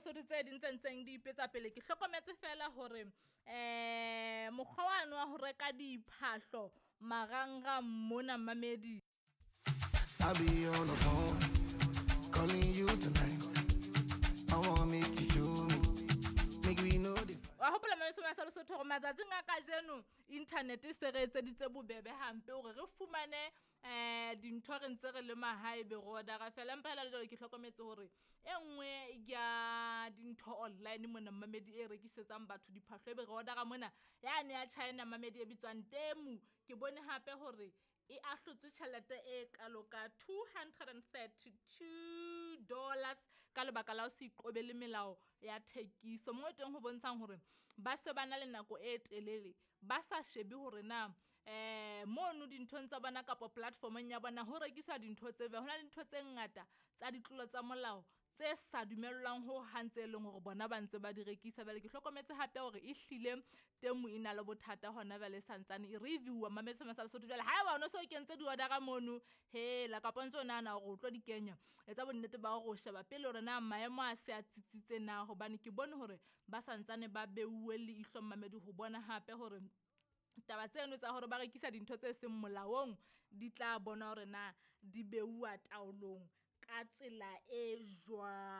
Lesotho tse ding tse ntseng di ipetsa pele. Ke hlokometse fela hore mokgwa wane wa ho reka diphahlo marangrang mona mmamedi. I'll be on the phone, calling you tonight. I wanna make you show me, make we know the Wa hopola mamesoma sa Lesotho hore matsatsing a kajeno internet e se re etseditse bobebe hampe hore re fumane dintho re ntse re le mahae be re order-a fela. Empa hela le jwale ke hlokometse hore e nngwe ya dintho online mona mmamedi e rekisetsang batho diphahlo ebe re order-a mona yane ya China mmamedi e bitswang Temu. Ke bone hape hore e ahlotswe tjhelete e kalo ka $232 ka lebaka la ho se iqobele melao ya thekiso. Moo teng ho bontshang hore ba se ba na le nako e telele ba sa shebe hore na mono dinthong tsa bona kapa platform-ong ya bona ho rekiswa dintho tse jwang. Ho na le dintho tse ngata tsa ditlolo tsa molao tse sa dumellwang ho hang tse leng hore bona ba ntse ba di rekisa. Jwale ke hlokometse hape hore ehlile Temu e na le bothata hona jwale e santsane e review-wa mametse sa Lesotho. Jwale haeba o no so kentse di-order-a mono, hela kapa o ntso nahana hore o tlo di kenya, etsa bonnete ba hore o sheba pele hore na maemo a se a tsitsitse na. Hobane ke bone hore ba santsane ba beuwe leihlo mmamedi ho bona hape hore taba tseno tsa hore ba rekisa dintho tse seng molaong di tla bona hore na di beuwa taolong ka tsela e jwang.